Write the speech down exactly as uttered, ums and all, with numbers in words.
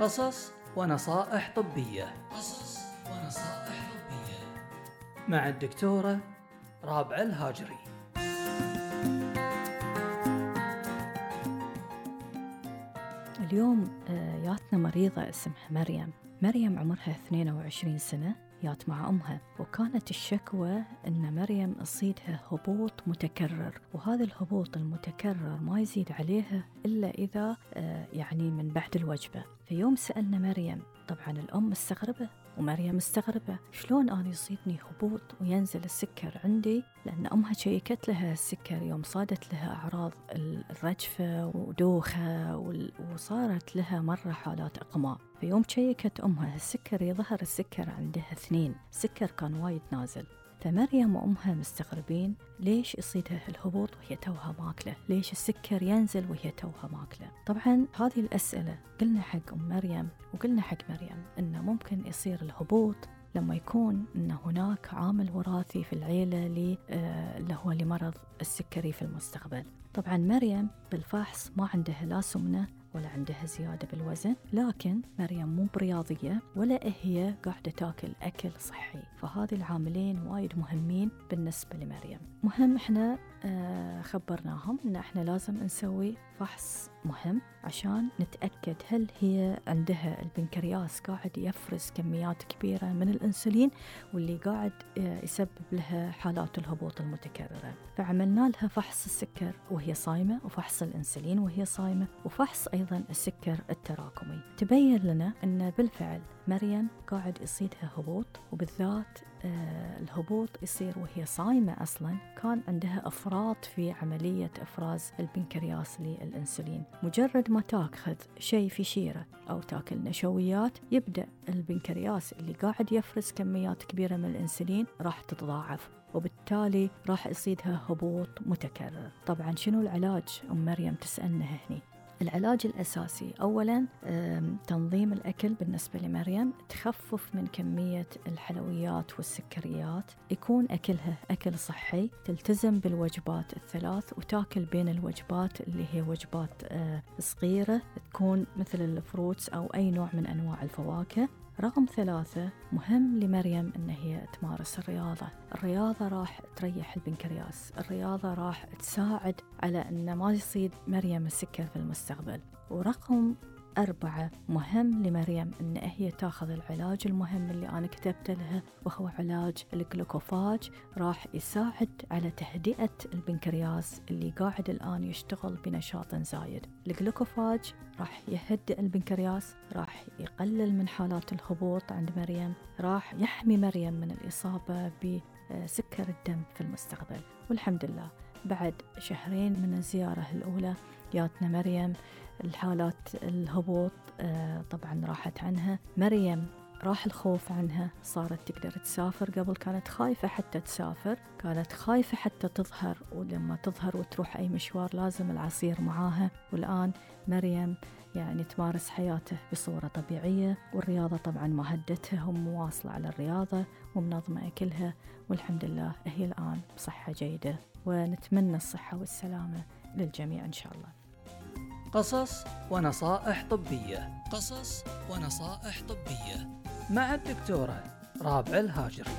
قصص ونصائح طبية. قصص ونصائح طبية مع الدكتورة رابعة الهاجري. اليوم ياتنا مريضة اسمها مريم. مريم عمرها اثنين وعشرين سنة، يات مع أمها، وكانت الشكوى أن مريم يصيدها هبوط متكرر، وهذا الهبوط المتكرر ما يزيد عليها إلا إذا يعني من بعد الوجبة. في يوم سألنا مريم، طبعا الأم مستغربة ومريم مستغربة، شلون أنا يصيدني هبوط وينزل السكر عندي؟ لأن أمها شيكت لها السكر يوم صادت لها أعراض الرجفة ودوخة، وصارت لها مرة حالات إقماء. في يوم شيكت أمها السكر، يظهر السكر عندها اثنين، السكر كان وايد نازل. فمريم وأمها مستغربين ليش يصيدها الهبوط وهي توها ماكلة، ليش السكر ينزل وهي توها ماكلة. طبعا هذه الأسئلة قلنا حق أم مريم وقلنا حق مريم إنه ممكن يصير الهبوط لما يكون إن هناك عامل وراثي في العيلة اللي هو لمرض السكري في المستقبل. طبعا مريم بالفحص ما عندها لا سمنة ولا عندها زيادة بالوزن، لكن مريم مو برياضية ولا هي قاعدة تاكل أكل صحي، فهذه العاملين وايد مهمين بالنسبة لمريم. مهم احنا آه خبرناهم ان احنا لازم نسوي فحص مهم عشان نتأكد هل هي عندها البنكرياس قاعد يفرز كميات كبيرة من الأنسولين واللي قاعد آه يسبب لها حالات الهبوط المتكررة. فعملنا لها فحص السكر وهي صايمة، وفحص الأنسولين وهي صايمة، وفحص أيضا السكر التراكمي. تبين لنا أن بالفعل مريم قاعد يصيدها هبوط، وبالذات آه الهبوط يصير وهي صايمة. أصلا كان عندها أفراط في عملية إفراز البنكرياس للأنسولين. مجرد ما تاخذ شيء في شيرة أو تاكل نشويات، يبدأ البنكرياس اللي قاعد يفرز كميات كبيرة من الأنسولين راح تتضاعف، وبالتالي راح يصيدها هبوط متكرر. طبعا شنو العلاج؟ أم مريم تسألنا هني. العلاج الأساسي أولاً تنظيم الأكل بالنسبة لمريم، تخفف من كمية الحلويات والسكريات، يكون أكلها أكل صحي، تلتزم بالوجبات الثلاث وتاكل بين الوجبات اللي هي وجبات صغيرة، تكون مثل الفروتس أو أي نوع من أنواع الفواكه. رقم ثلاثة، مهم لمريم إن هي تمارس الرياضة. الرياضة راح تريح البنكرياس، الرياضة راح تساعد على إن ما يصيد مريم السكر في المستقبل. ورقم أربعة، مهم لمريم إن هي تاخذ العلاج المهم اللي أنا كتبت لها، وهو علاج الجلوكوفاج، راح يساعد على تهدئة البنكرياس اللي قاعد الآن يشتغل بنشاط زايد. الجلوكوفاج راح يهدئ البنكرياس، راح يقلل من حالات الهبوط عند مريم، راح يحمي مريم من الإصابة بسكر الدم في المستقبل. والحمد لله بعد شهرين من الزيارة الأولى جاتنا مريم الحالات الهبوط آه طبعا راحت عنها. مريم راح الخوف عنها، صارت تقدر تسافر. قبل كانت خايفة حتى تسافر، كانت خايفة حتى تظهر، ولما تظهر وتروح أي مشوار لازم العصير معاها. والآن مريم يعني تمارس حياته بصورة طبيعية، والرياضة طبعا ما هدتها، هم مواصلة على الرياضة ومنظمة أكلها، والحمد لله هي الآن بصحة جيدة، ونتمنى الصحة والسلامة للجميع إن شاء الله. قصص ونصائح طبية. قصص ونصائح طبية مع الدكتورة رابعة الهاجري.